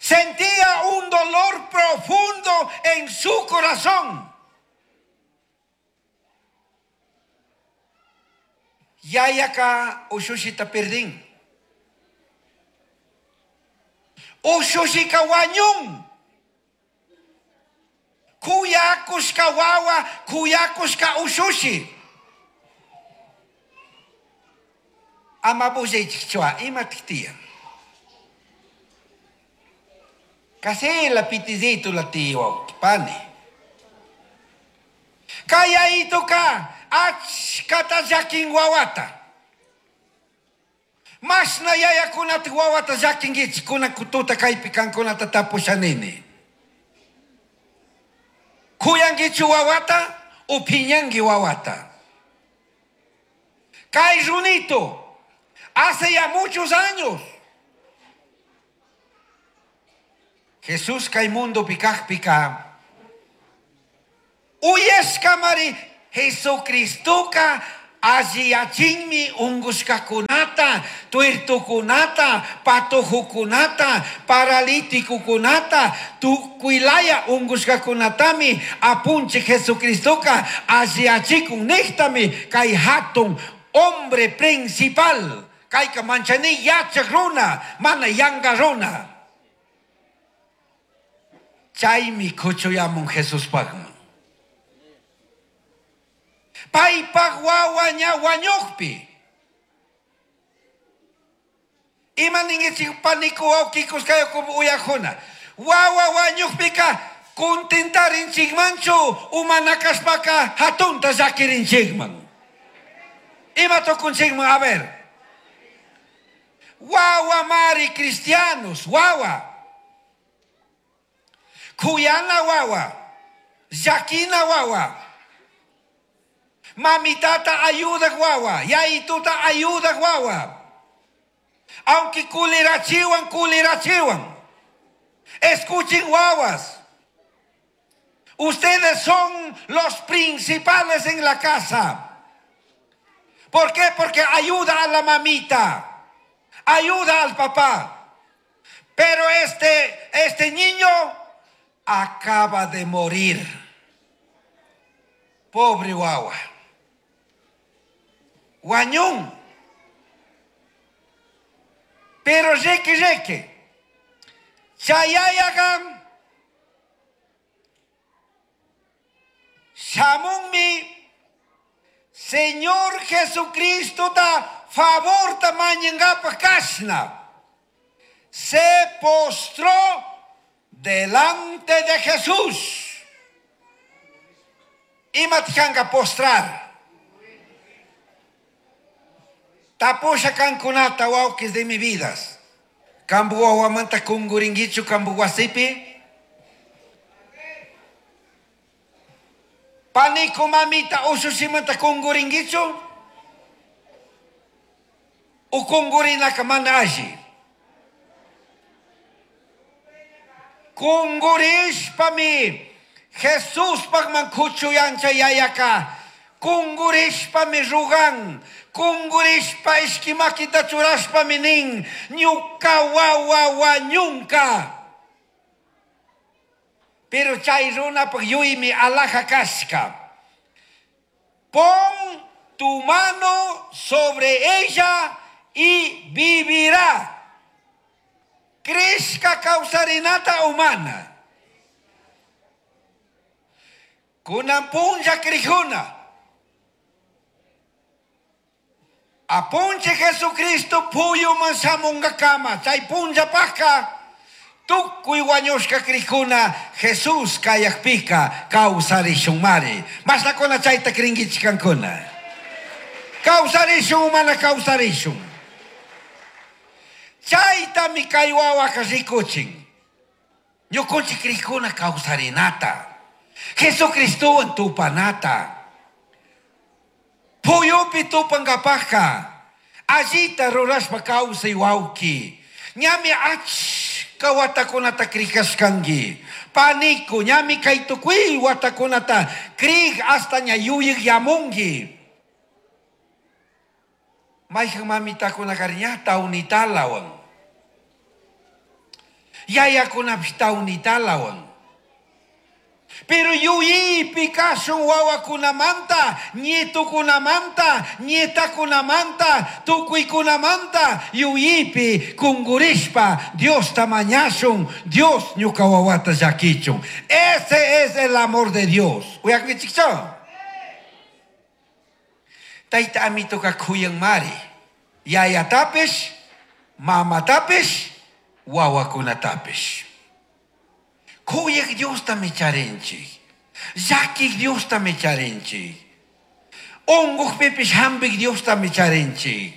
sentía un dolor profundo en su corazón. Yayaka ushushita perdín. Ushushika wañun. Kuyakushka wawa, kuyakushka ushushi. Amabuzeichua, imatiktia. Kasi la pitizito la tiwa, pani. Kaya ito ka, achkata jakin wawata. Mas na yaya kunat wawata jakin gich, kuna kututa kaypi kankunata tapushanini. Kuyangichu wawata, upiñangi wawata. Kay runito, hace ya muchos años. Jesús kay mundo pikaj pika. Uyeskamari Jesucristoka alliyachinmi ungushkakunata, tuertukunata, patojukunata, paralíticokunata, tukuylaya ungushkakunatami apunchik Jesucristoka alliyachikun niqtami kay hatun hombre principal kayka manchani yachaq runa, mana yanqa runa. Chaymi kuchuyamun Jesuspaqman. Paypaq wawa ña wañuqpi. Ima ninkichik paniku wawqikus kay uyaqkuna. Wawa wañuqpika contentarinchikmanchu umana kashpaka hatunta llakirinchikman. Ima tukunchikman, a ver. Wawa mari cristianos, wawa. Kuyana wawa, llakina wawa. Mamitata ayuda wawa, yayituta ayuda wawa. Aunque kulirachiwan, kulirachiwan. Escuchen wawas. Ustedes son los principales en la casa. ¿Por qué? Porque ayuda a la mamita, ayuda al papá. Pero este niño acaba de morir. Pobre wawa. Wañun. Pero reque, reque. Chayayagan. Shamunmi. Señor Jesucristo da favor ta mañangapa kashna. Se postró delante de Jesús. Ima tijanga postrar. Tapusha kankunata wawkis de mi vidas. Kambu wawamanta kunguringuichu kambu wasipi. Panico mamita ushushimanta kunguringuichu. U kungurinaka mana alli. Kungurishpami Jesús pagman kuchuyancha yayaka. Kungurishpami rugan. Kungurishpa ishkimakita churashpami nin. Ñuka wawa wañunka. Pero chay runapaq yuymi alaja kashka. Pon tu mano sobre ella y vivirá. Crezca kawsarinata humana. Kunan punlla krijuna. Apunche Jesucristo puyuman shamunga kama. Chay punlla pajka. Tukuy wañushka krijuna Jesús kayakpika kawsarishun mari. Mashnakuna chayta krinkichik kankuna. Kawsarishun mana kawsarishun. Chaytami kay wawaka rikuchin. Ñukunchik krijuna kawsarinata. Jesucristowan tupanata. Puyupi tupankapajka. Allita rurashpa kawsay wawki. Ñami achka watakunata krikashkanki. Panico, ñami kay tukuy watakunata krik hasta ña yuyik yamunki. Mayhan mamitakuna ña tawnitalawan. Yayakunapish tawnitalawan. Pero yuyipi kashun wawakunamanta, nietukunamanta, nietakunamanta, tukuykunamanta, yuyipi kungurishpa Diosta mañashun, Dios ñuka wawata llakichun. Ese es el amor de Dios. Uyakunkichikchu? Tayta amituka kuyan mari. Yayatapish, mamatapish, wawakunatapish. Kuyaq Diosta micharinchik. Llakiq Diosta micharinchik. Unquqpipish hampiq Diosta micharinchik.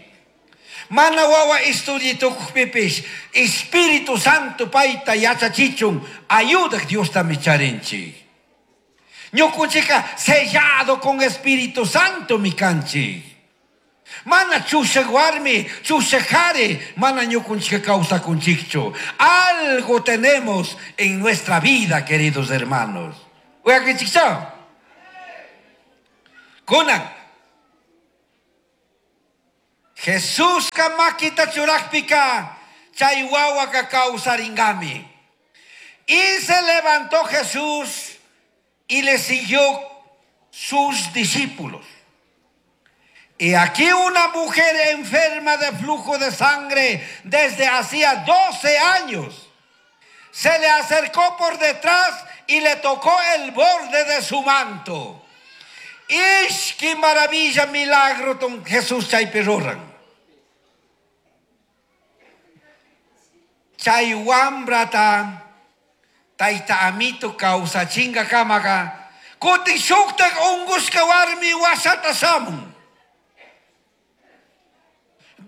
Mana wawa estudiitukuqpipish Espíritu Santo payta yachachichun ayudaq Diosta micharinchik. Ñukunchikka sellado con Espíritu Santo mi kanchik. Mana chushaq warmi, chushaq qhari, mana ñukunchikka kawsakunchikchu. Algo tenemos en nuestra vida, queridos hermanos. Uyakunchikchu? Kunan. Jesusca makita churajpika chay wawaka kawsaringami. Y se levantó Jesús y le siguió sus discípulos. Y aquí una mujer enferma de flujo de sangre desde hacía 12 años se le acercó por detrás y le tocó el borde de su manto. ¡Ish, qué maravilla, milagro, don Jesús chaypi ruran! Chay wambrata tayta amito kawsachinga kamaqa kutin shuktak unqushka warmi wasata shamun.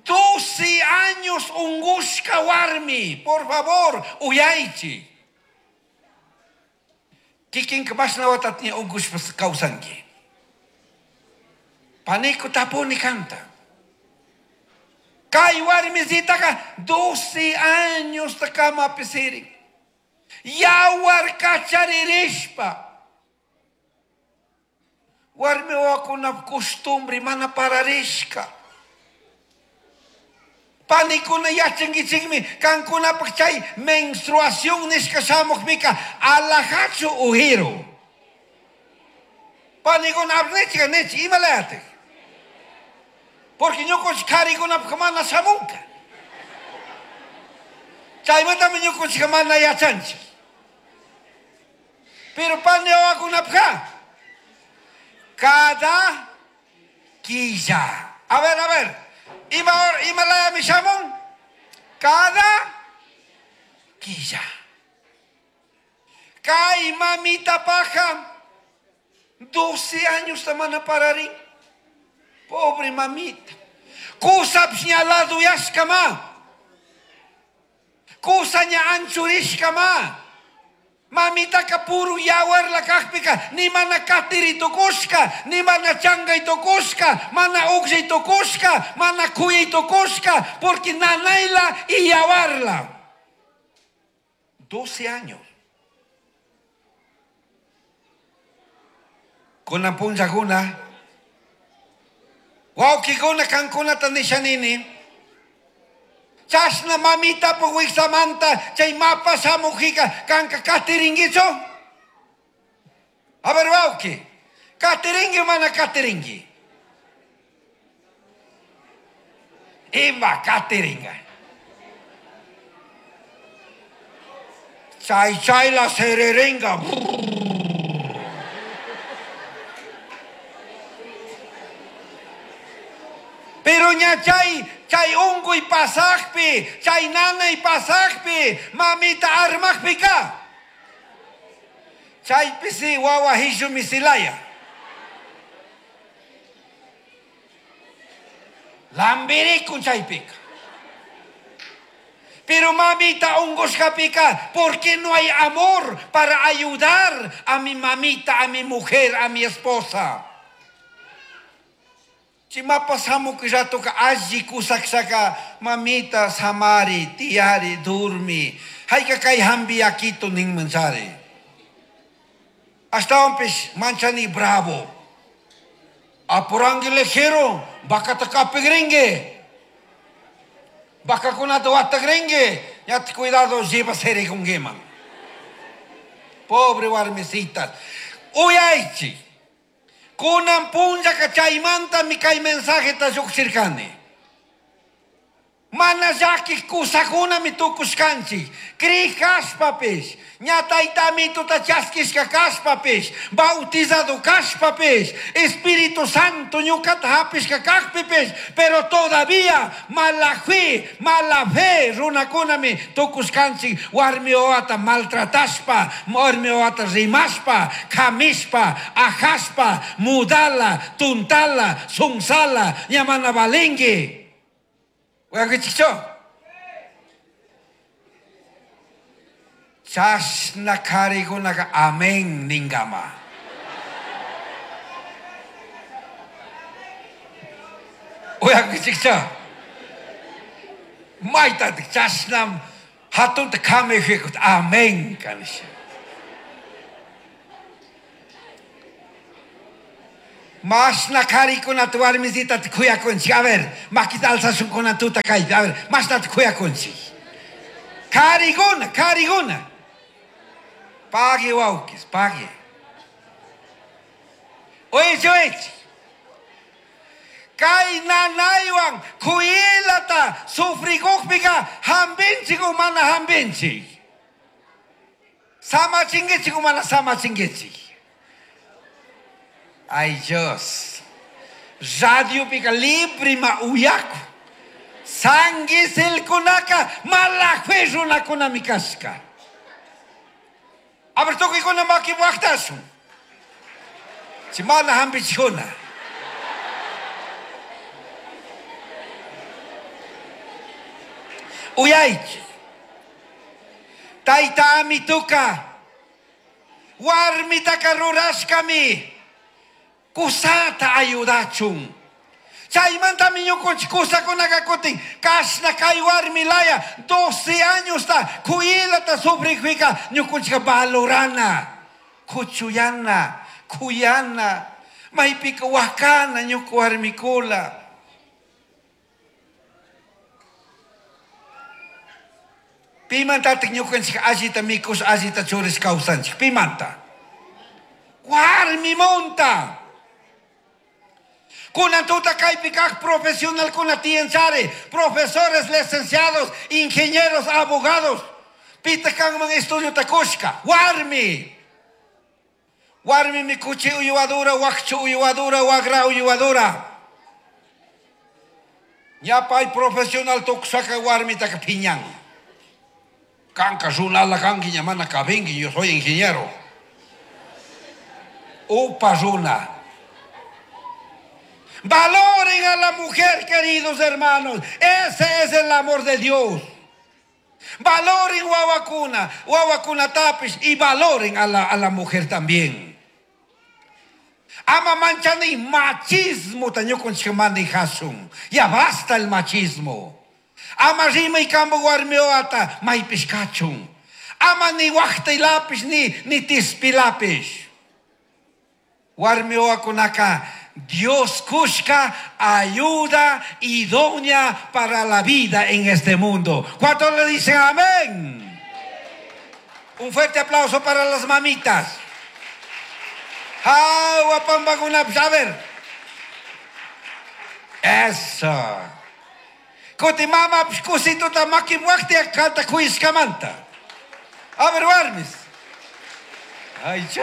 12 años ungushka warmi, por favor, uyaychi. Kikinka mashna watata ungushpa kawsanki. Paniku tapuni kanta. Kay warmisitaqa 12 años kamapi sirin. Yawar kacharirishpa. Warmi wawakuna costumbre mana pararishka. Panikuna yachankichikmi kankunapaq chay menstruación nishka shamuqpika alajachu ujiru. Panikuna abnichika nichi imalayatik. Porque ñukunchik qharikunapaq mana shamunka. Chaymantami ñukunchikka mana yachanchik. Pero pani wawakunapaqqa cada quilla. A ver, a ver. Ima imalayami shamun? Cada quilla. Kay mamita paja 12 años mana pararin. Pobre mamita. Kusapish ña laduyashkama. Kusa ña anchurishkama. Mamitaka puro yawarla kajpika, ni mana katiri tukushka, ni mana changay tukushka, mana ukshay tukushka, mana kuyay tukushka, porque nanayla y yawarla. 12 años. Kunan punllakuna, wawkikuna kankunata nishanini, chashna mamita wiksamanta chay mapa shamujika kanka katiringuichu? A ver, wawki, katiringui o mana katiringui? Ima katiringa. Chay chay la sererenga. Pero ña chay, chay unguy pasajpi, chay nanay pasajpi, mamita armajpika. Chaypi si wawa hishu misilaya. Lambirikun chaypika. Pero mamita ungushkapika, ¿por qué no hay amor para ayudar a mi mamita, a mi mujer, a mi esposa? Chimapa samuq ratoka alli kusakshaka mamita samari, tiyari, durmi. Hayka kay hambi yakito ninmanchari. Ashtawanpish manchani bravo. Apurangi lejero, bakata kapigringue. Bakakunata watagringue. Ya te cuidado, lleva serikunguiman. Pobre warmisitas. Uyaychi. Kunan punllaka chaymanta mi kay mensajeta lluqshirkani. Mana llakiq kusakunami tukushkanchik. Kriq kashpapish, ña taytamituta chaskishka kashpapish, bautizado kashpapish, Espíritu Santo ñuqata hapishka kaqpipish, pero todavía mala fe, mala fe runakunami tukushkanchik warmi wawata maltratashpa, warmi wawata rimashpa, kamishpa, ajashpa, mudala, tuntala, sunsala, ña mana valinki. Uyankichikchu? Chashna qharikunaka amén ninkama. Uyankichikchu? Maytatik chashnam hatunta kamijikut amén kanisha. Mashna qharikunata warmisitata khuyakunchik. A ver, makita alzashunkuna tuta kaypi. A ver, mashnata khuyakunchik. Qharikuna, qharikuna. Pague wawkis, pague. Uychi, uychi. Kay nanaywan khuylata sufrikuqpiqa hampinchik o mana hampinchik. Samachinkichik o mana samachinkichik. Ay Dios. Radiopika librima uyaku. Sanguisilkunaka mala fe runakunami kashka. A ver, tukuykuna maki waqtashun. Chi mana hampichikuna. Uyaychik. Tayta amituka warmitaka rurashkami kusata ayudachun. Chaymantami ñukunchik kusakunaka kutin kashna kay warmi laya 12 añosta kuyilata sufrikpika ñukunchika valorana, kuchuyana, kuyana, maypika wakana ñuka warmikula. Pimantatik ñukanchik allita mikush, allita churish kawsanchik? Pimanta? Warmimunta. Kunan tuta kaypi kaq profesionalkuna tiyanchari, profesores, licenciados, ingenieros, abogados. Pitaq kanman estudiota kushka? Warmi. Warmimi kuchi uywadura, wakchu uywadura, wagra uywadura. Ña pay profesional tukushaka warmitaka phiñan. Kanka runala kanki ña mana kabinki, yo soy ingeniero. Upa runa. Valoren a la mujer, queridos hermanos. Ese es el amor de Dios. Valoren wawakuna, wawakuna tapish y valoren a la mujer también. Ama manchani machismo tañukunchik manijasun. Ya basta el machismo. Ama rimay kambo warmioata maypish kachun. Ama ni waqtaylapish ni tispilapish. Warmioakunaka Dios kushka ayuda idónea para la vida en este mundo. ¿Cuántos le dicen amén? Un fuerte aplauso para las mamitas. Agua pambaguna, a ver. Eso. Kuti mama kusituta maki waqti kanta kuiskamanta. A ver, warmis. Ay, chu.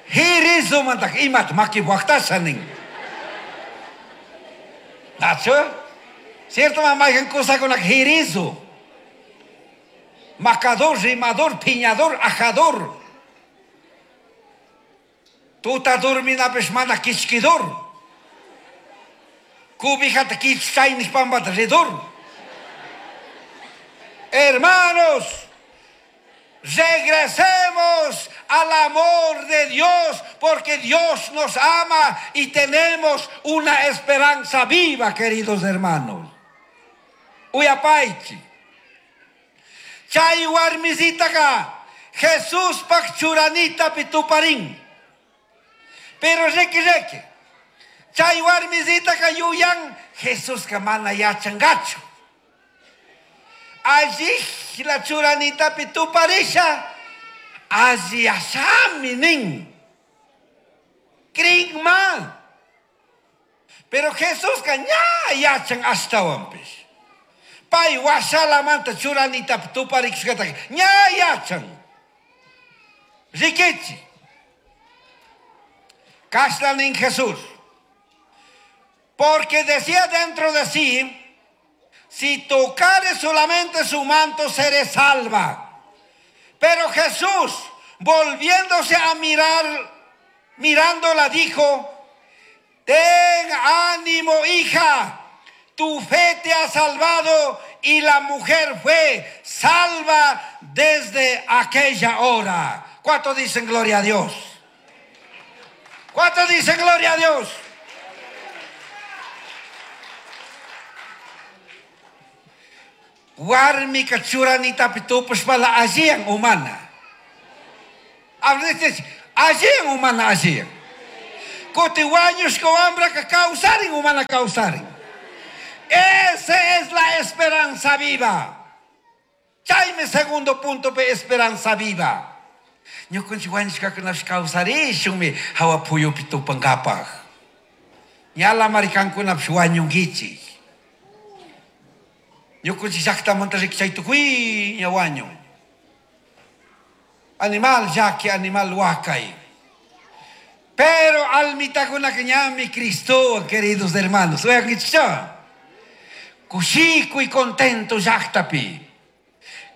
Hirizo mantak imat maki waqtasha nin. Nacho? Cierto, mamá, hay cosa con la jirizo. Macador, rimador, piñador, ajador. Tuta dormina peshmana kichkidor. Cubijata kichchaynish pambata redor. Hermanos, regresemos al amor de Dios, porque Dios nos ama y tenemos una esperanza viva, queridos hermanos. Uyapaichi. Chay warmisitaka Jesús pak churanita pituparín. Pero requi requi. Chay warmisitaka yuyan Jesús ka mana yachangachu. Allí la churanita pituparisha. Allí asami nin. Kringma. Pero Jesús ka ña yachan ashtawanpish. Pay washalamanta churanita tuparikushkata ña yachan. Rikichi. Kashna nin Jesús. Porque decía dentro de sí, si tocare solamente su manto, seré salva. Pero Jesús, volviéndose a mirar, mirándola, dijo, ten ánimo, hija, tu fe te ha salvado. Y la mujer fue salva desde aquella hora. ¿Cuántos dicen gloria a Dios? ¿Cuántos dicen gloria a Dios? Warmika churanitapi tupashpala alliyan umana. A veces Alliyan o mana alliyan? Kutin wañushka wambraka kawsarin o mana kawsarin? Esa es la esperanza viva. Chaymi segundo punto pe esperanza viva. Ñukanchik wañushkakunapish kawsarishunmi hawa puyupi tupankapaj. Ñalamari kankunapish wañunkichik. Ñukanchik llaktamanta riki chay tukuyña wañun. Animal llaki, animal wakay. Pero almitakunaka ñami Cristowan, queridos hermanos. Uyankichikchu? Kushikuy contento llaktapi.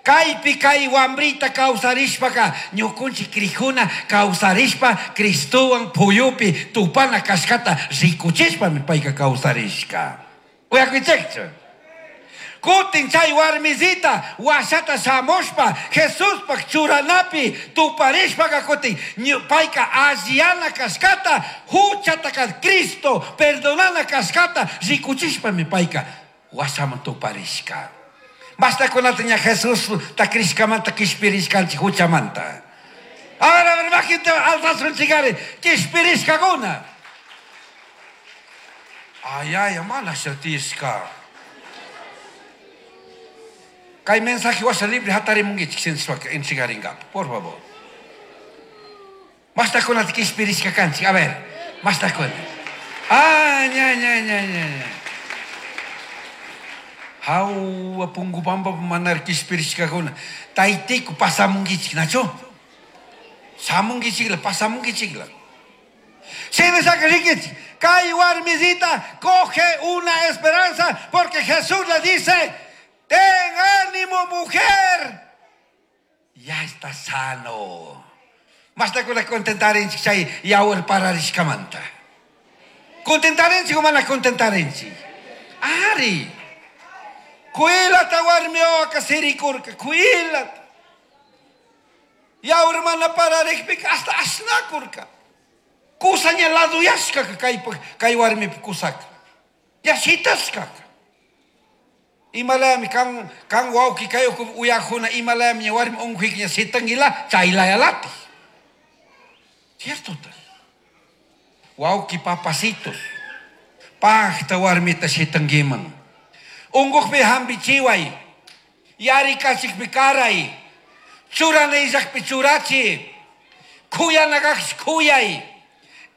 Kaypi kay wambrita kawsarishpaka ñukunchik crijuna kawsarishpa Cristowan puyupi tupana kashkata rikuchishpami payka kawsarishka. Uyakuichikchu? Kutin chay warmisita washata shamushpa Jesuspaj churanapi tuparishpaka kutin payka alliyana kashkata huchataka Cristo perdonana kashkata rikuchishpami payka washaman tuparishka. Mashtakunata ña Jesús ta crishkamanta kishpirishkanchik huchamanta. A ver, maquita alzasunchikari kishpirishkakuna. Ay, ay, mana shatishka. Kay mensaje washa libre hatarimunkichik sinchishpaka entregaringapa, por favor. Mashtakunata kishpirishka kanchik, a ver, mashtakuna. Ah, ña, ña, ña, ña, ña. Hawa pungu pampa manar kishpirishkakuna. Taytiku pasamunkichik, nachu? Shamunkichikla, pasamunkichikla. Shinashaka rikichik, kay warmisita coge una esperanza porque Jesús le dice: ten ánimo, mujer, ya está sano. Mashtakuna contentarinchik chay yawar pararishkamanta. Contentarinchik o mana contentarinchik? Ari. Kuilata warmi wawaka sirikurka, kuilata. Yawar mana pararikpika hasta ashnakurka. Kusaña laduyashkaka kay warmipi kusaka. Ya shitashkaka. Imalayami kan wawki kay uku uyajuna imalayami ña warmi unquyki ña shitanguila chaylayalati. Cierto tal. Wawki papacitos. Pajta warmita shitanguiman. Unqujpi hampichiway. Yarikachikpi karay. Churanayllaqpi churachi. Kuyanakaqsh kuyay.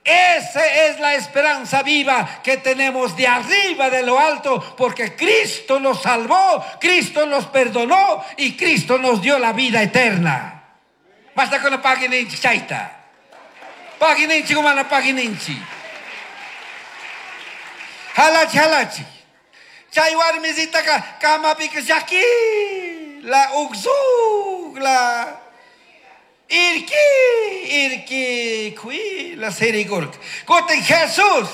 Esa es la esperanza viva que tenemos de arriba, de lo alto, porque Cristo nos salvó, Cristo nos perdonó y Cristo nos dio la vida eterna. Basta con la página inchi, chaita. Página inchi, como la página inchi. Halachi, halachi. Chay warmisita ka, kamapi ka yaki, la uxug, la irki, irki, kui, la serigurk. Kutin Jesús,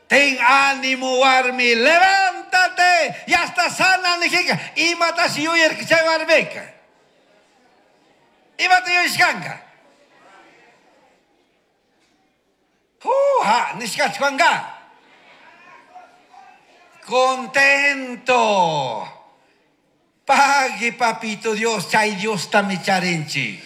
ten ánimo, warmi, levántate, ya está sana, nijika. Imatashi yuyarka chay warmika. Imata yuyashkanka. Juja, nishkachkanka. Contento. Pague, papito Dios, chay Dios tamicharinchik.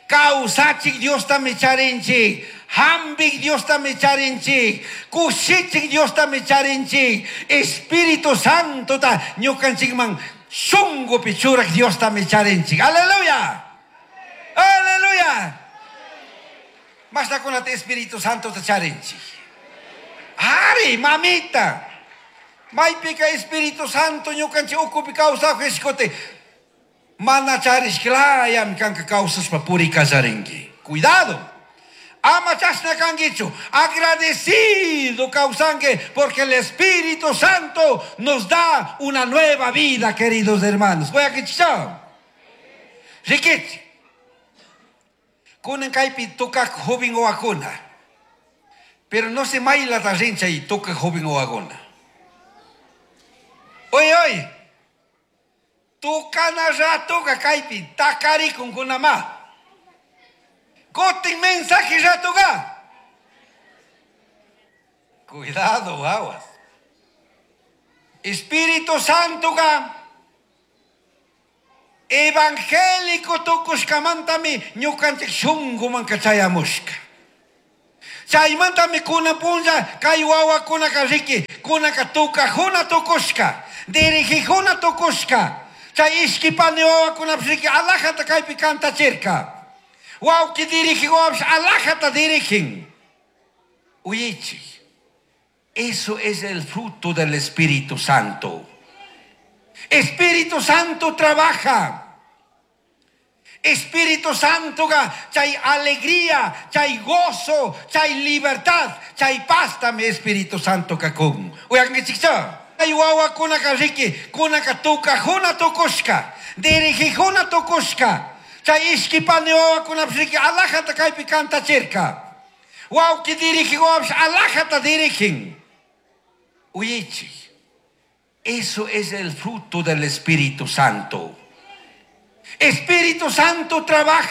Kawsachik Dios tamicharinchik. Hambik Dios tamicharinchik. Kushichik Dios tamicharinchik. Espíritu Santo ta ñukanchikman shungupi churak Dios tamicharinchik. Aleluya. Aleluya. Mashtakunata Espíritu Santo ta charinchik. Ari, mamita. Maypika Espíritu Santo ñukanchik ukupi kawsaj ishkote. Mana charishklayam kanka kawsashpa purikallarinki. Cuidado. Ama chashna kankichu. Agradecido kawsanki porque el Espíritu Santo nos da una nueva vida, queridos hermanos. Voy a kichao. Rikichi. Kunan kaypi tukak joven owakuna. Pero no se maila ta rincha y toca joven owakuna. Oye, oye. Tukana ratuka kaypi takarikun kunama. Kutin mensaje ratuka. Cuidado, aguas. Espíritu Santo ka. Evangélico tukushkamantami ñukanchik shunkumanka chayamushka. Chaymantami kunan punlla kay wawakunaka riki kunaka tukajuna tukushka, dirigijuna tukushka. Chay ishki pani wawakunapish riki alajata kaypi kantachirka. Wawki dirigij wawapish alajata dirigin. Uyichik. Eso es el fruto del Espíritu Santo. Espíritu Santo trabaja. Espíritu Santo chay alegría, chay gozo, chay libertad, chay pastami Espíritu Santo kakun. Uyankichikcha. Chay wawakunaka riki, kunaka tukajuna tukushka, dirigijuna tukushka. Chay ishki pani wawakunapish riki alajata kaypi kantachirka. Wawki dirigij wawapish alajata dirigin. Uyichik. Eso es el fruto del Espíritu Santo. Espíritu Santo trabaja.